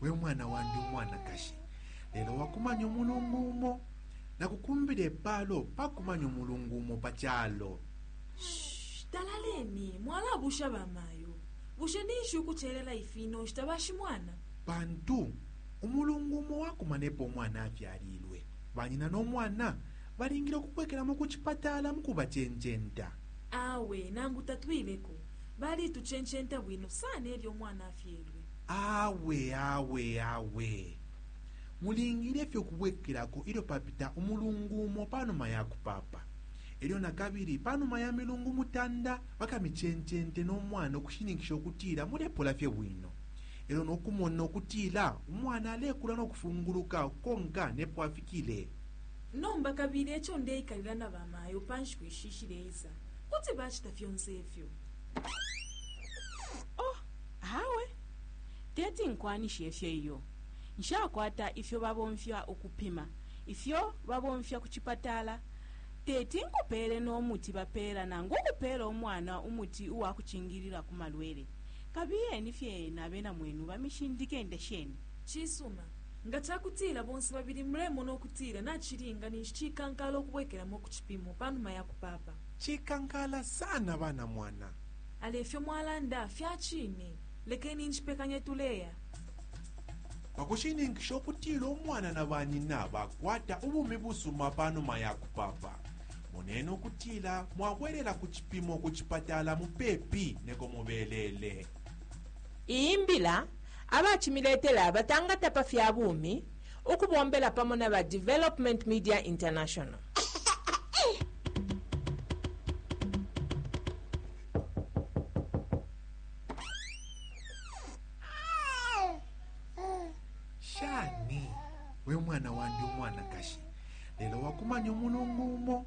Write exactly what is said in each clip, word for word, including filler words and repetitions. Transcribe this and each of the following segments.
We mwana wandi umwanakashi, lelo wakumanya umulungu umo. Nakukumbile palo pakumanya umulungu umo pa chalo. Shh, talaleni mwalabusha bamayo. Bushe ninshi ukuchelela ifino nshita bashimwana? Pantu umulungu umo wakumanepo umwana afyalilwe, banyina n'omwana balingile okubwekeramo ku chipatala mukubachencenta. Awe nangu tatwileko, balituchencenta bwino sana elyo umwana afyelwe. Awe awe awe, mulingile fye okubwekerako ilyo papita umulungu umo panuma ya kupapa. Elyo nakabili panuma ya milungu mutanda bakamichencente n'omwana okushininkisha okutila mulepola fye bwino. Elyo n'okumona okutila umwana alekula n'okufunguluka konka nepo afikile. Nomba kabili echo ndeikalila na bamayo pa nshiku ishi ishileisa, kuti bachita fyonse ifyo. Oh, awe teti nkwanishe ifyo iyo. Nshakwata ifyo babomfya ukupima, ifyo babomfya ku chipatala. Teti nkupeele n'omuti bapeela nangu ukupeela umwana umuti uwa kuchingilila ku malwele. Kabiyeni fye na bena mwenu bamishindike ndesheni. Chisuma, nga chakutila bonse babili mulemona okutila nachilinga ninshi chikankala okubwekeramo ku chipimo panuma ya kupapa. Chikankala sana bana mwana. Ale ifyo mwalanda fyachine, lekeni nchipekanye tuleya. Pakushininkisha okutila umwana na banyina bakwata ubumi busuma panuma ya kupapa, munene okutila mwabwerera ku chipimo ku chipatala mupepi neko mubelele. Iyi mbila abachimiletela batangata pa fya bumi ukubombela pamo na ba Development Media International. Shani we mwana wandi umwanakashi, lelo wakumanya umulungu umo.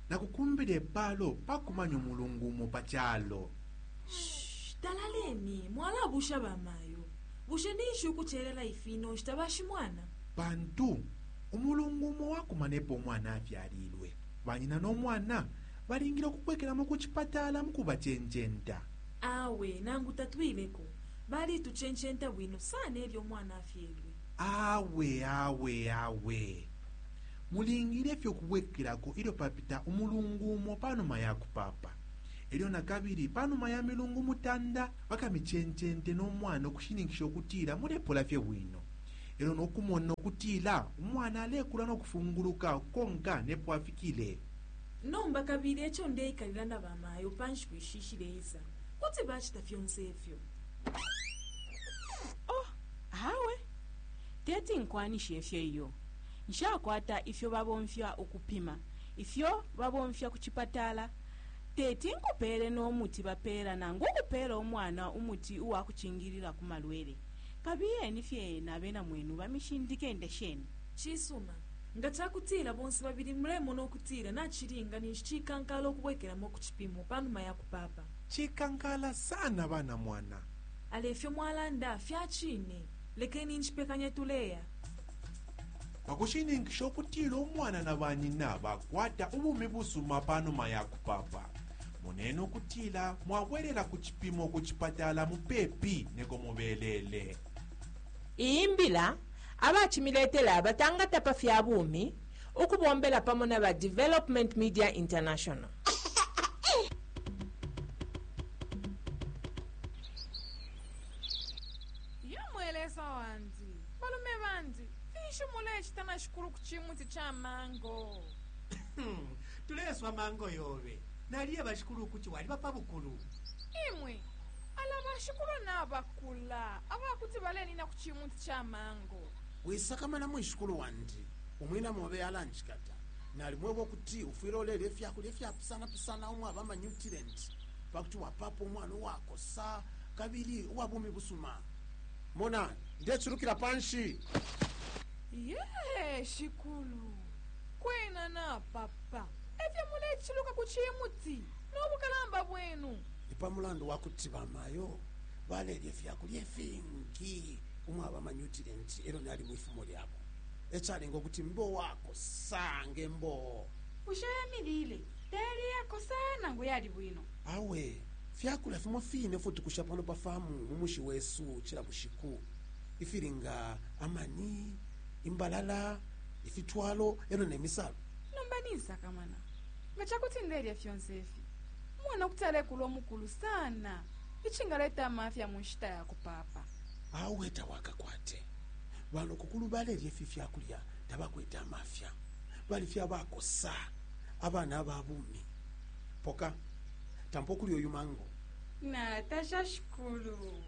Nakukumbile palo pakumanya umulungu umo pa chalo. Shh, talaleni mwalabusha bamayo. Bushe ninshi ukuchelela ifino nshita bashimwana? Pantu umulungu umo wakumanepo umwana afyalilwe, banyina n'omwana balingile okubwekeramo ku chipatala mukubachencenta. Awe nangu tatwileko, balituchencenta bwino sana elyo umwana afyelwe. Awe awe awe, mulingile fye okubwekerako ilyo papita umulungu umo panuma ya kupapa. Elyo nakabili panuma ya milungu mutanda bakamichencente n'omwana okushininkisha okutila mulepola fye bwino. Elyo n'okumona okutila umwana alekula n'okufunguluka konka nepo afikile. Nomba kabili echo ndeikalila na bamayo pa nshiku ishi ishileisa, kuti bachita fyonse ifyo. Oh, awe teti nkwanishe ifyo iyo. Nshakwata ifyo babomfya ukupima, ifyo babomfya ku chipatala. Teti nkupeele n'omuti bapeela nangu ukupeela umwana umuti uwa kuchingilila ku malwele. Kabiyeni fye na bena mwenu bamishindike ndesheni. Chisuma, nga chakutila bonse babili mulemona okutila nachilinga ninshi chikankala okubwekeramo ku chipimo panuma ya kupapa. Chikankala sana bana mwana. Ale ifyo mwalanda fyachine, lekeni nchipekanye tuleya. Pakushininkisha okutila umwana na banyina bakwata ubumi busuma panuma ya kupapa, munene okutila mwabwerera ku chipimo ku chipatala mupepi neko mubelele. Iyi mbila abachimiletela batangata pa fya bumi ukubombela pamo na ba Development Media International. Yo mwelesa wandi, balume bandi, finshi mulechita na shikulu ku chimuti cha mango? Tuleswa mango yobe. Naliye bashikulu kuti waliba pa bukulu. Imwe ala bashikulu nabakula abakuti balenina ku chimuti cha mango. Wisakamana mwishikulu wandi, umwina mobe alanjikata. Nalimweba okuti ufwile olelya efyakulya efyapusanapusana umwaba amanyutilenti pakuti wapapa umwana uwakosa kabili uwa bumi busuma. Mona ndechulukila panshi. Ye shikulu, kwena napapa efyo mulechiluka ku chimuti n'obukalamba bwenu. Ni pa mulandu wa kuti bamayo balelya efyakulya efingi umwaba amanyutilenti elyo nali mwifumo lyabo, ecalenga okuti mbe wakosa ngembo. Bushe yamilile tayali yakosa nangu yali bwino? Awe, fyakulya fimo fine futukusha pano pa famu mu mushi wesu cila bushiku. Ifili nga amani, imbalala, ifitwalo elo nemisalo. Nomba ninsakamana nga cakuti ndelya fyonse ifi, umwana kuti alekula omukulu sana, ichingaleta amafya mu nshita ya kupapa. Awe tawakakwate. Banokukulu balelya ifi fyakulya tabakwete amafya, bali fye abakosa, abana ababumi. Poka tampa okulya oyu mango. Natasha shikulu,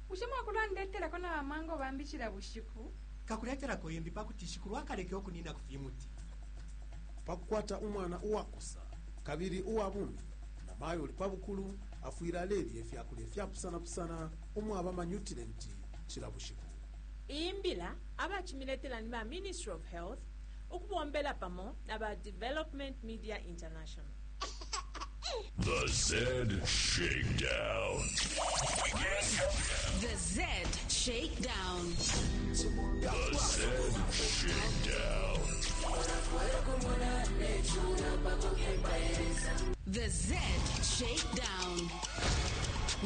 bushe mwakulandetelako na bamango bambi cila bushiku? Kakuletelako imbi pakuti shikulu akaleke okunina ku fimuti. Pakukwata umwana uwakosa kabili uwa bumi, namayo uli pa bukulu afwile alelya ifyakulya ifyapusanapusana umwaba amanyutilenti cila bushiku. Iyi mbila abacimiletela ni ba Ministry of Health ukubombela pamo na ba Development Media International. The Z Shakedown. The Z Shakedown. The Z Shakedown. The Z Shakedown.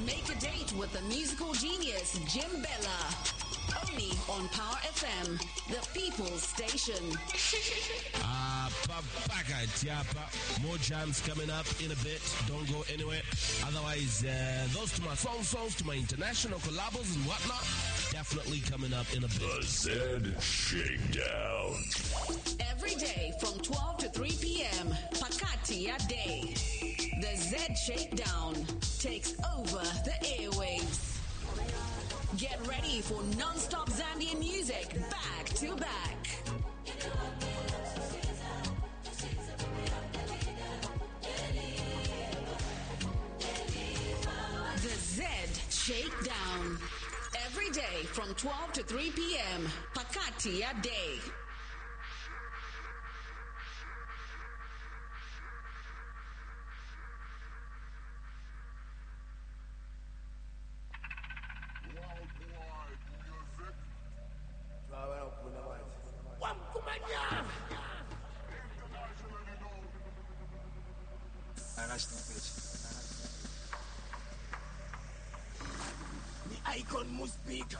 Make a date with the musical genius Jim Bella. Only on Power F M, the People's Station. Uh, Papaka Tiapa. More jams coming up in a bit. Don't go anywhere. Otherwise, uh, those to my song songs, to my international collabos and whatnot, definitely coming up in a bit. The Z Shakedown. Every day from twelve to three p m. Pakati a day. The Z Shakedown takes over the airwaves. Get ready for non-stop Zambian music back to back. The Z Shakedown. Every day from twelve to three p m. Pakati a day. Ni icon must speak.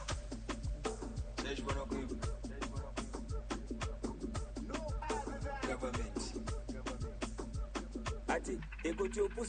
Government. Ati, ekuti upusi.